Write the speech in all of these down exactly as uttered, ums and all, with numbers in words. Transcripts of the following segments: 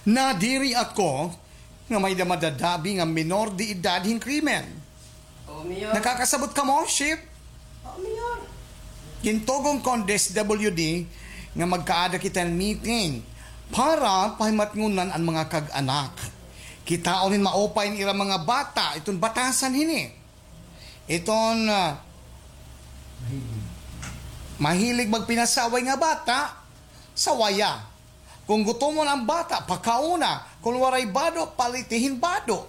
Nadiri ako nga may-ada madadabi nga minor de edad hin krimen. Nakakasabot kamo, Chief? Gintugon ko an D S W D nga magkaada kita hin meeting para pahimatngonan an mga kag-anak. Kitaon hin maupay an ira mga bata iton batasan hini. Iton, ah, mahilig magpinasaway nga bata, sawaya. Kon gutomon an bata, pakaona. Kon waray bado, paliti hin bado.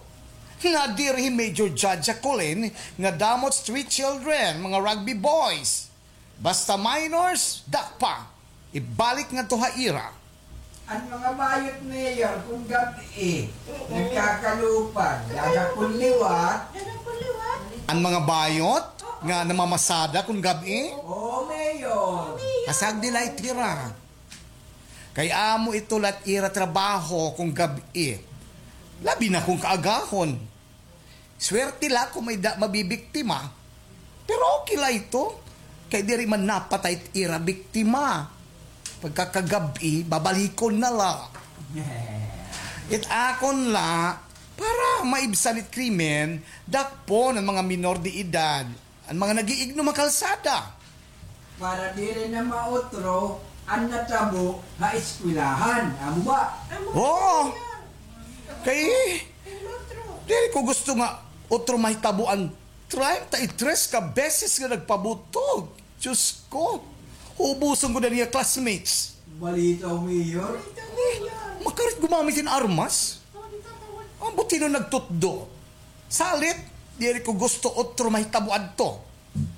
Nadiri hi Major Judge Jacolin nga damo it street children, mga rugby boys. Basta minors, dakpa. Ibalik ngadto ha ira. An mga bayot, Mayor, kon gab-i, nagkakalupan, dada kon liwat. An mga bayot nga namamasada kon gab-i? Oo, Mayor. Kasagdi la it ira. Kay amo ito la it ira trabaho kon gab-i. Labi na kon kaagahon. Swerte la kon may-ada mabibiktima. Pero okay la ito. Kay diri man napatay it ira biktima. Pagkakagab-i, babalikon na la. It akon la, para maibsan it krimen, dakpon an mga minor de edad. An mga nag-iignom ha kalsada. Para diri na mautro an natabo ha eskwelahan. Amo ba? Oo. Kay, diri ko gusto nga utro mahitabo an treinta y tres ka beses nga nagpabutog. Diyos ko. Hubuson ko na niya classmates. Balita, Mayor. Makarit gumamit hin armas. Ambot hin-o nagtutdo. Salit, diri ko gusto utro mahitabo adto.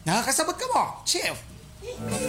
Nakakasabot kamo, Chief?